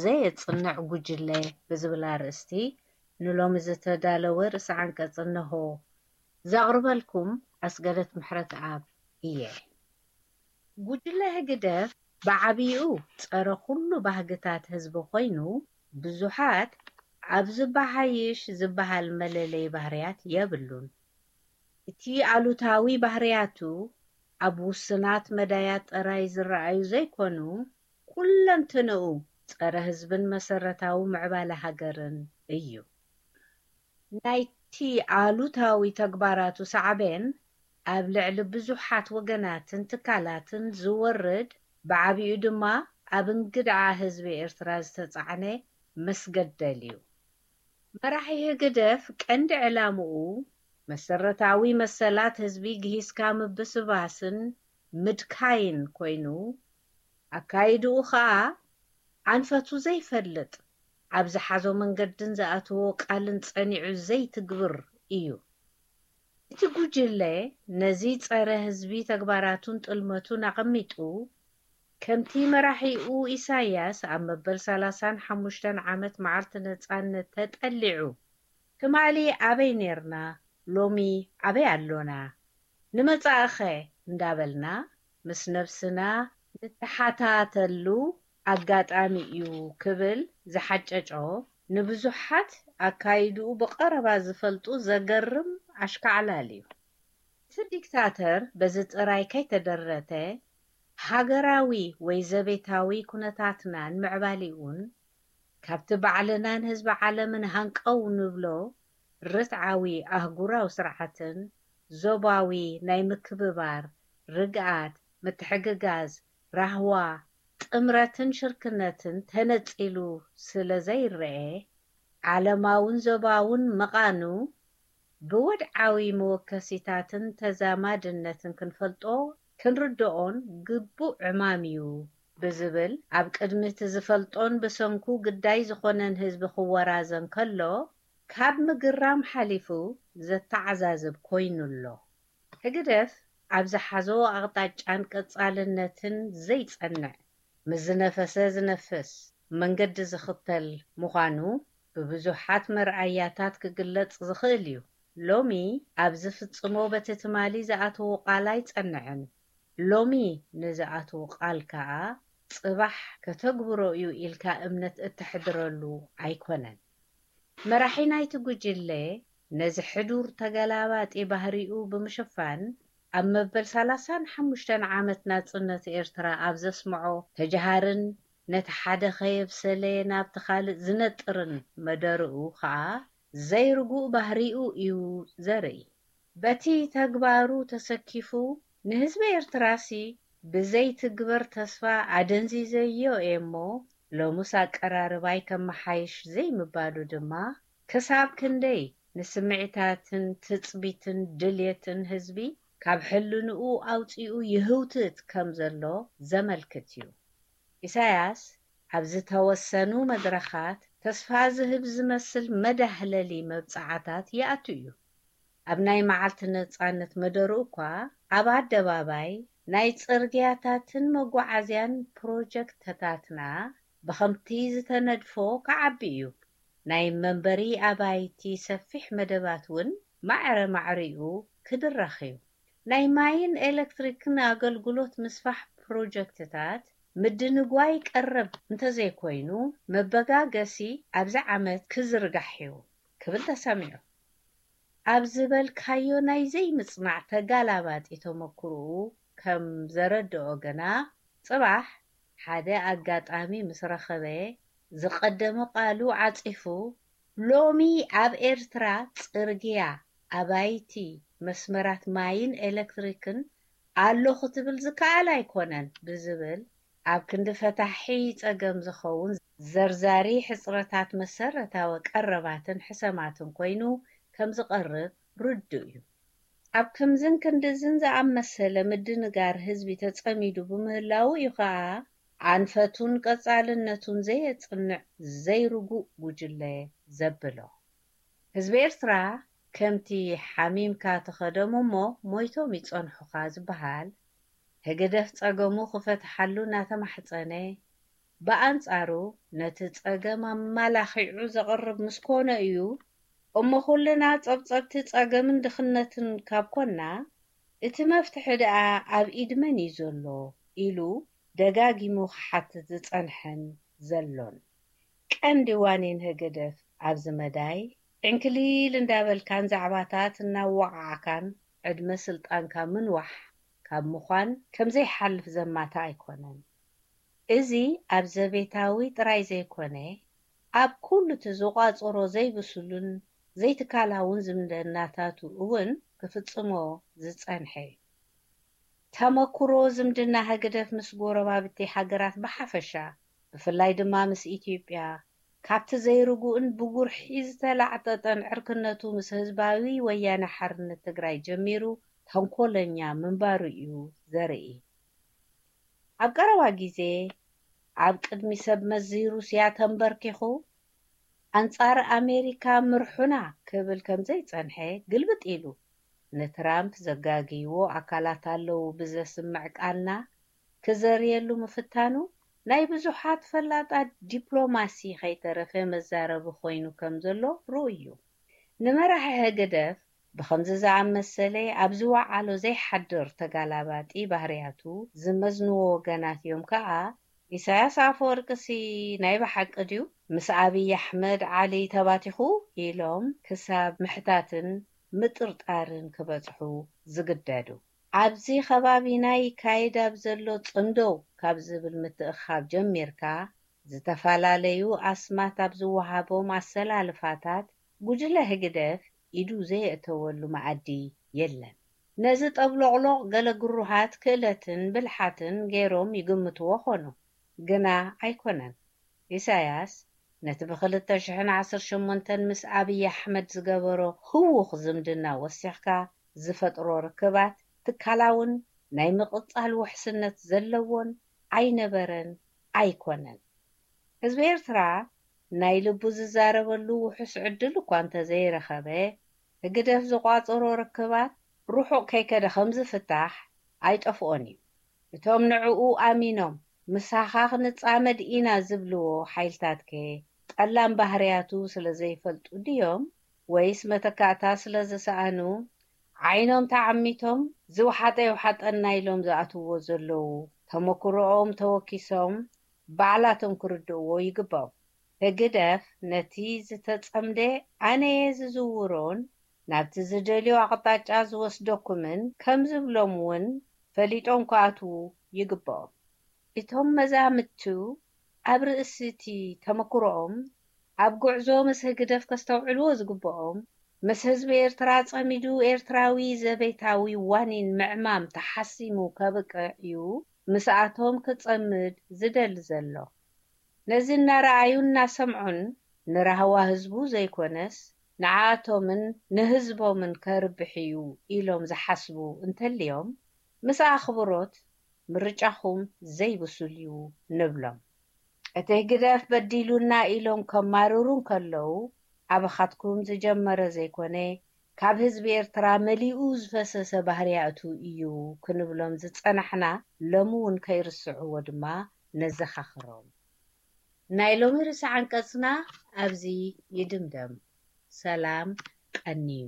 ዘየጽንዕ ጉጅለ ብዝብል ኣርእስቲ ንሎሚ ዝተዳለወ ርእሲ ዓንቀጽ እነሆ። ዘቕርበልኩም ኣስገደት ምሕረተኣብ እየ። ጉጅለ ህግደፍ ብዓቢኡ ጸረ ኩሉ ባህግታት ህዝቢ ኮይኑ፣ ብዙሓት ኣብ ዝበሓይሽ ዝበሃል መለለዪ ባህርያት የብሉን። እቲ ኣሉታዊ ባህርያቱ ኣብ ውሱናት መዳያት ጥራይ ዝረኣዩ ዘይኮኑ፣ ኩለንትንኡ ጸረ ህዝብን መሰረታዊ ምዕባለ ሃገርን እዩ። ናይቲ ኣሉታዊ ተግባራቱ ሳዕቤን ኣብ ልዕሊ ብዙሓት ወገናትን ትካላትን ዝወርድ፣ ብዓቢኡ ድማ ኣብ እንግድዓ ህዝቢ ኤርትራ ዝተጻዕነ መስገደል እዩ። መራሒ ህግደፍ ቀንዲ ዕላምኡ መሰረታዊ መሰላት ህዝቢ ግሂስካ ምብስባስን ምድካይን ኮይኑ፣ ኣካይድኡ ኸኣ ኣንፈቱ ዘይፈልጥ፣ ኣብ ዝሓዞ መንገድን ዝኣተዎ ቃልን ጸኒዑ ዘይትግብር እዩ። እቲ ጉጅለ ነዚ ጸረ ህዝቢ ተግባራቱን ጥልመቱን ኣቐሚጡ፣ ከምቲ መራሒኡ ኢሳያስ ኣብ መበል ሰላሳን ሓሙሽተን ዓመት መዓልቲ ነጻነት ተጠሊዑ፣ ትማሊ ኣበይ ኔርና፣ ሎሚ ኣበይ ኣሎና፣ ንመጻኢኸ እንዳበልና ምስ ነብስና ንተሓታተሉ ኣጋጣሚ እዩ ክብል ዝሓጨጮ፣ ንብዙሓት ኣካይድኡ ብቐረባ ዝፈልጡ ዘገርም ኣሽካዕላል እዩ። እቲ ዲክታተር በዚ ጥራይ ከይተደረተ፣ ሃገራዊ ወይ ዘቤታዊ ኩነታትና ንምዕባሊኡን ካብቲ ባዕልናን ህዝቢ ዓለምን ሃንቀው ንብሎ ርትዓዊ ኣህጉራዊ ስርዓትን ዞባዊ ናይ ምክብባር፣ ርግኣት፣ ምትሕግጋዝ፣ ራህዋ፣ ጥምረትን ሽርክነትን ተነጺሉ ስለ ዘይረኤ፣ ዓለማውን ዞባውን ምቓኑ ብወድዓዊ መወከሲታትን ተዛማድነትን ክንፈልጦ ክንርድኦን ግቡእ ዕማም እዩ ብዝብል ኣብ ቅድሚ እቲ ዝፈልጦን ብሰንኩ ግዳይ ዝኾነን ህዝቢ ክወራዘን ከሎ ካብ ምግራም ሓሊፉ ዘተዓዛዝብ ኮይኑ ኣሎ። ህግደፍ ኣብ ዝሓዞ ኣቕጣጫን ቀጻልነትን ዘይጸንዕ፣ ምስ ዝነፈሰ ዝነፍስ መንገዲ ዝኽተል ምዃኑ ብብዙሓት መርኣያታት ክግለጽ ዝኽእል እዩ። ሎሚ ኣብ ዝፍጽሞ በቲ ትማሊ ዝኣተዎ ቃል ኣይጸንዕን። ሎሚ ንዝኣትዎ ቃል ከኣ ጽባሕ ከተግብሮ እዩ ኢልካ እምነት እተሕድረሉ ኣይኮነን። መራሒ ናይቲ ጉጅለ ነዚ ሕዱር ተገላባጢ ባህሪኡ ብምሽፋን፣ ኣብ መበል ሰላሳን ሓሙሽተን ዓመት ናጽነት ኤርትራ ኣብ ዘስምዖ ተጀሃርን ነቲ ሓደ ከየብሰለ ናብቲ ካልእ ዝነጥርን መደርኡ ከኣ ዘይርጉእ ባህሪኡ እዩ ዘርኢ። በቲ ተግባሩ ተሰኪፉ ንህዝቢ ኤርትራሲ ብዘይትግበር ተስፋ ኣደንዚዘዮ እየ እሞ፣ ሎምስ ኣቀራርባይ ከመሓይሽ ዘይምባሉ ድማ፣ ክሳብ ክንደይ ንስምዒታትን ትጽቢትን ድልየትን ህዝቢ ካብ ሕልንኡ ኣውጺኡ ይህውትት ከም ዘሎ ዘመልክት እዩ። ኢሳያስ ኣብ ዝተወሰኑ መድረኻት ተስፋ ዝህብ ዝመስል መዳህለሊ መብጽዓታት ይኣቱ እዩ። ኣብ ናይ መዓልቲ ነጻነት መደርኡ እኳ ኣብ ኣደባባይ ናይ ጽርግያታትን መጓዓዝያን ፕሮጀክትታትና ብኸምቲ ዝተነድፎ ክዓቢ እዩ። ናይ መንበሪ ኣባይቲ ሰፊሕ መደባት እውን ማዕረ ማዕሪኡ ክድረኽ እዩ። ናይ ማይን ኤሌክትሪክን ኣገልግሎት ምስፋሕ ፕሮጀክትታት ምድንጓይ ቀረብ እንተዘይኮይኑ፣ መበጋገሲ ኣብዚ ዓመት ክዝርጋሕ እዩ ክብል ተሰሚዑ። ኣብ ዝበልካዮ ናይ ዘይምጽናዕ ተጋላባጢ ተመክሮኡ ከም ዘረድኦ ግና፣ ጽባሕ ሓደ ኣጋጣሚ ምስ ረኸበ፣ ዝቐደመ ቃሉ ዓጺፉ፣ ሎሚ ኣብ ኤርትራ ጽርግያ፣ ኣባይቲ፣ መስመራት ማይን ኤሌክትሪክን ኣሎ ክትብል ዝከኣል ኣይኮነን ብዝብል፣ ኣብ ክንዲ ፈታሒ ጸገም ዝኸውን ዘርዛሪ ሕጽረታት መሰረታዊ ቀረባትን ሕሰማትን ኮይኑ ከም ዝቐርብ ርዱእ እዩ። ኣብ ከምዝን ክንድዝን ዝኣመሰለ ምድንጋር ህዝቢ ተጸሚዱ ብምህላዉ እዩ ከኣ ኣንፈቱን ቀጻልነቱን ዘየጽንዕ ዘይርጉእ ጉጅለ ዘብሎ። ህዝቢ ኤርትራ ከምቲ ሓሚምካ ተኸዶም እሞ ሞይቶም ይጸንሑኻ ዝበሃል፣ ህግደፍ ጸገሙ ክፈትሓሉ እናተማሕጸነ፣ ብኣንጻሩ ነቲ ጸገም ኣማላኺዑ ዘቕርብ ምስ ኮነ እዩ እሞ ኩልና ጸብጸብቲ ጸገምን ድኽነትን ካብ ኮና እቲ መፍትሒ ደኣ ኣብ ኢድ መን እዩ ዘሎ ኢሉ ደጋጊሙ ክሓትት ዝጸንሐን ዘሎን። ቀንዲ ዋኒን ህግደፍ ኣብዚ መዳይ ዕንክሊል እንዳበልካን ዛዕባታት እናወዓዕካን ዕድመ ስልጣንካ ምንዋሕ ካብ ምዃን ከምዘይሓልፍ ዘማታ ኣይኮነን። እዚ ኣብ ዘቤታዊ ጥራይ ዘይኮነ ኣብ ኩሉ እቲ ዝቋጽሮ ዘይብሱልን ዘይትካላውን ዝምድናታቱ እውን ክፍጽሞ ዝጸንሐ እዩ። ተመኩሮ ዝምድና ህግደፍ ምስ ጎረባብቲ ሃገራት ብሓፈሻ ብፍላይ ድማ ምስ ኢትዮጵያ ካብቲ ዘይርጉእን ብጉርሒ ዝተላዕጠጠን ዕርክነቱ ምስ ህዝባዊ ወያነ ሓርነት ትግራይ ጀሚሩ ተንኮለኛ ምንባሩ እዩ ዘርኢ። ኣብ ቀረባ ግዜ ኣብ ቅድሚ ሰብ መዚ ሩስያ ተንበርኪኹ ኣንጻር ኣሜሪካ ምርሑና ክብል ከም ዘይጸንሐ ግልብጥ ኢሉ ንትራምፕ ዘጋግይዎ ኣካላት ኣለዉ ብዘስምዕ ቃልና ክዘርየሉ ምፍታኑ ናይ ብዙሓት ፈላጣት ዲፕሎማሲ ከይተረፈ መዛረቢ ኮይኑ ከም ዘሎ ርኡይ እዩ። ንመራሒ ህግደፍ ብኸምዚ ዝኣመሰለ ኣብ ዝወዓሎ ዘይሓድር ተጋላባጢ ባህርያቱ ዝመዝንዎ ወገናት እዮም ከኣ ኢሳያስ ኣፈወርቅሲ ናይ ብሓቂ ድዩ ምስ ኣብይ ኣሕመድ ዓሊ ተባቲኹ ኢሎም ክሳብ ምሕታትን ምጥርጣርን ክበጽሑ ዝግደዱ። ኣብዚ ከባቢና ይካየድ ኣብ ዘሎ ጽምዶ ካብ ዝብል ምትእኻብ ጀሚርካ ዝተፈላለዩ ኣስማት ኣብ ዝወሃቦም ኣሰላልፋታት ጉጅለ ህግደፍ ኢዱ ዘየእተወሉ መኣዲ የለን። ነዚ ጠብሎቕሎቕ ገለ ግሩሃት ክእለትን ብልሓትን ገይሮም ይግምትዎ ኾኑ፣ ግና ኣይኮነን። ኢሳያስ ነቲ ብ ክልተ ሽሕን ዓሰርተ ሸሞንተን ምስ ኣብይ ኣሕመድ ዝገበሮ ህዉኽ ዝምድና ወሲኽካ ዝፈጥሮ ርክባት ትካላውን ናይ ምቕጻል ውሕስነት ዘለዎን ኣይነበረን ኣይኮነን። ህዝቢ ኤርትራ ናይ ልቡ ዝዛረበሉ ውሑስ ዕድል እኳ እንተዘይረኸበ፣ ህግደፍ ዝቋጸሮ ርክባት ርሑቕ ከይከደ ከም ዝፍታሕ ኣይጠፍኦን እዩ። እቶም ንዕኡ ኣሚኖም ምሳኻ ክንጻመድ ኢና ዝብልዎ ሓይልታትከ ጠላም ባህርያቱ ስለ ዘይፈልጡ ድዮም? ወይስ መተካእታ ስለ ዝሰኣኑ ዓይኖም ተዓሚቶም ዝውሓጠ ይውሓጠና ኢሎም ዝኣትውዎ ዘለዉ ተመክሮኦም ተወኪሶም ባዕላቶም ክርድእዎ ይግባኦም። ህግደፍ ነቲ ዝተጸምደ ኣነየ ዝዝውሮን ናብቲ ዝደልዮ ኣቕጣጫ ዝወስደኩምን ከም ዝብሎም እውን ፈሊጦም ክኣትዉ ይግባኦም። እቶም መዛምቱ ኣብ ርእሲ እቲ ተመክሮኦም ኣብ ጉዕዞ ምስ ህግደፍ ከስተውዕልዎ ዝግብኦም ምስ ህዝቢ ኤርትራ ጸሚዱ ኤርትራዊ ዘቤታዊ ዋኒን ምዕማም ተሓሲሙ ከብቅዕ እዩ ምስኣቶም ክጸምድ ዝደሊ ዘሎ። ነዚ እናረኣዩ እናሰምዑን ንራህዋ ህዝቡ ዘይኮነስ ንዓኣቶምን ንህዝቦምን ከርብሕ እዩ ኢሎም ዝሓስቡ እንተልዮም ምስ ኣኽብሮት ምርጫኹም ዘይብሱል እዩ ንብሎም። እቲ ህግደፍ በዲሉና ኢሎም ከማርሩ እንከለዉ ኣባኻትኩም ዝጀመረ ዘይኮነ ካብ ህዝቢ ኤርትራ መሊኡ ዝፈሰሰ ባህርያቱ እዩ ክንብሎም ዝጸናሕና ሎሚ እውን ከይርስዕዎ ድማ ነዘኻኽሮም። ናይ ሎሚ ርእሰ ዓንቀጽና ኣብዚ ይድምደም። ሰላም ቀንዩ።